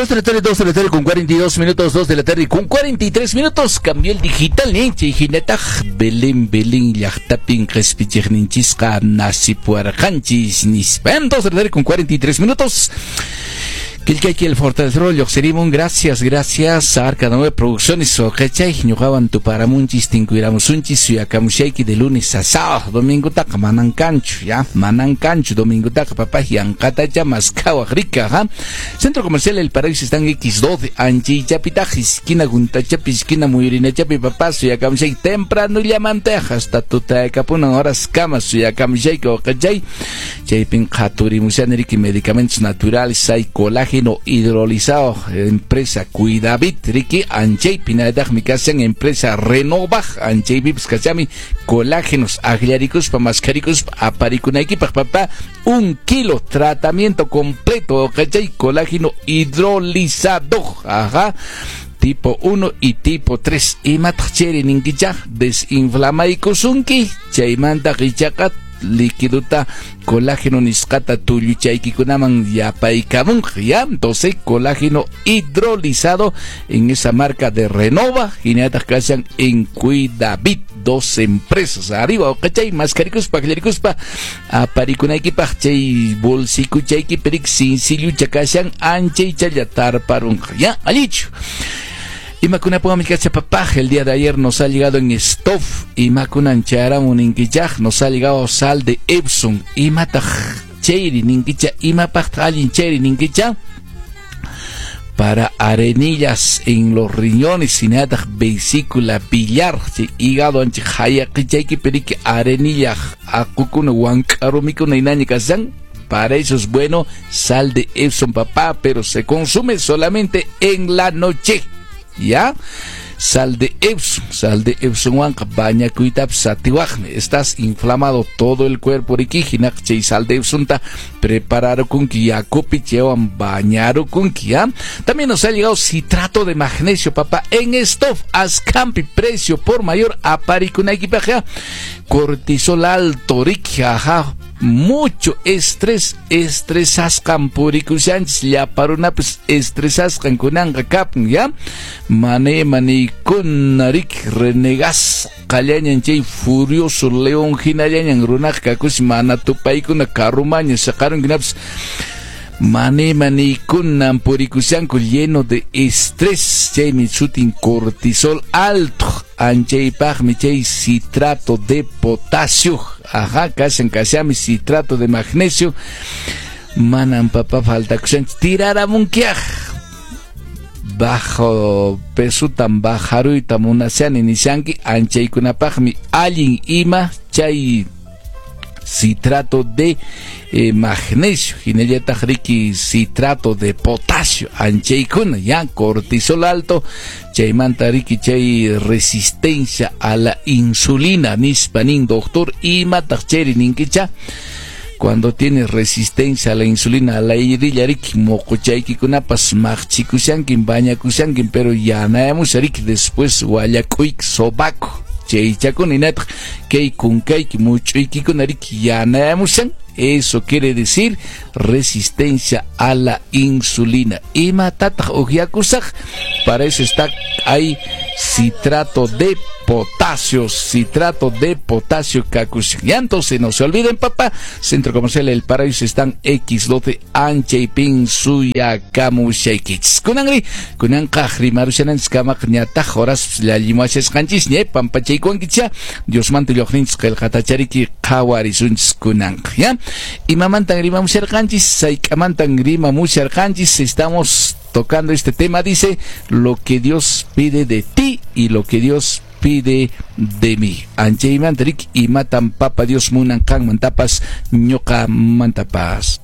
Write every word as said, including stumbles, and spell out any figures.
Dos de la tarde, dos de la tarde con cuarenta y dos minutos, dos de la tarde con cuarenta y tres minutos. Cambió el digital, ¿eh? Chay hinataq Belén, Belén, llaqtapin qhispichiqninchisqa nasipuarqanchis nispa. Dos de la tarde con cuarenta y tres minutos. Qillqayki El Fortalecedor lluqsirimun. Gracias, gracias. Arca Nueve Producciones, wawqichay, ñuqawan tuparamunchis, tinkuyramusunchis, suyakamushayki de lunes a sábado, domingo taqa manan kanchu, ya, manan kanchu, domingo taqa papá yanqatacha maskawaq rika, ha. Centro Comercial El Paraíso están X doce, anchaychapitaq, esquina Guntachapi, esquina Muyurinachapi, papá, suyakamushayki temprano llamanteq, hasta tutayakapunan horas kama suyakamushayki, wawqichay, chaypin qhaturimushani riki medicamentos naturales, hay colágeno hidrolizado, empresa Cuidavit, riki, anchaypi hinallataqmi kashan empresa Renova, anchaypipas kashami colágenos akllarikuspa maskharikuspa aparikunaykipaq, papá, un kilo tratamiento completo, ¿cachai? Colágeno hidrolizado, ajá, tipo uno y tipo tres. Imataq chayri ninkicha desinflamaykusunki, chaymanta ichaqa líquidota colágeno nisqata tulluchaykikunaman yapaykamunqa, ya. Entonces colágeno hidrolizado en esa marca de Renova, hinallataq kashan en Cuidavit, dos empresas arriba, ¿cachai? Maskharikuspa, akllarikuspa aparikunaykipaq chay bolsikuchaykipi riki sinsillucha kashan anchaychalla tarparunqa, ya, allichu. Imakunapuwanmi kasha papá, el día de ayer nos ha llegado en Stoff, imakunan chayaramun ninkichaq, nos ha llegado sal de Epsom, imataq chayri ninkicha, imapaqtaq allin chayri ninkicha, para arenillas en los riñones, hinallataq vesícula biliar, chay hígado anchik hayaqichaykipi riki arenilla aqukuna wank'arumikuna hinaña kashan. Para eso es bueno sal de Epsom, papá, pero se consume solamente en la noche. ¿Ya? Sal de Epsom, sal de Epsom wanqa bañakuytapas atiwaqmi. Estás inflamado todo el cuerpo riki, hinaq chay sal de Epsomta prepararukunki yakupi chaywan bañarukunki, ¿ya? También nos ha llegado citrato de magnesio, papá, en Stoff, askampi, precio por mayor aparikunaykipaq, ¿ya? Cortisol alto, riki, ajá, mucho estrés, estresasqan purikushanchis, llapa runapas estresasqan kunanqa kapun, ya? Mane manikuna riki renegasqallañan chay furioso león hinallañan runaqa kakush mana tupaykuna karrumaña saqarunkunapas mane manikunan purikushanku lleno de estrés, chaymi sutin cortisol alto, anchaypaqmi chay citrato de potasio, ajá, kashan kashami citrato de magnesio, manan papá faltakushanchu tiraramunkiaq, bajo pesutan bajaruyta munashani nishanki, anchaykunapaqmi allin ima chay citrato de eh, magnesio, hinallataq riki citrato de potasio, anchaykuna, ya, cortisol alto, chaymanta riki chay resistencia a la insulina, nispa nin doctor, imataq chayri ninkicha, cuando tienes resistencia a la insulina, a la irilla riki, moqochaykikunapas maqchikushankin, bañakushankin, pero yanayamusha riki, después wallak'uyki sobaco, chaychakuna hinataq kay kunkayki much'uykikuna riki yanayamushan, eso quiere decir resistencia a la insulina. Imatataq uqyakusaq, para eso está hay citrato de potasio, citrato de potasio kakushan. Ya entonces no se olviden, papá, Centro Comercial El Paraíso están X doce anchaypin suyakamushaykichis. Kunanri, kunanqa rimarushananchis kamaq ñataq horas llallimuashasqanchis ña pampachaykuwankicha, Diosmanta lluqninchis qillqatachariki qhawarisunchis kunanqa, ya. Imamantan rimamusharqanchis, sayk'amantan rimamusharqanchis, estamos tocando este tema, dice, lo que Dios pide de ti y lo que Dios pide de mí. Anchaymanta riki imatan papa Dios munan qanmantapas ñuqamantapas.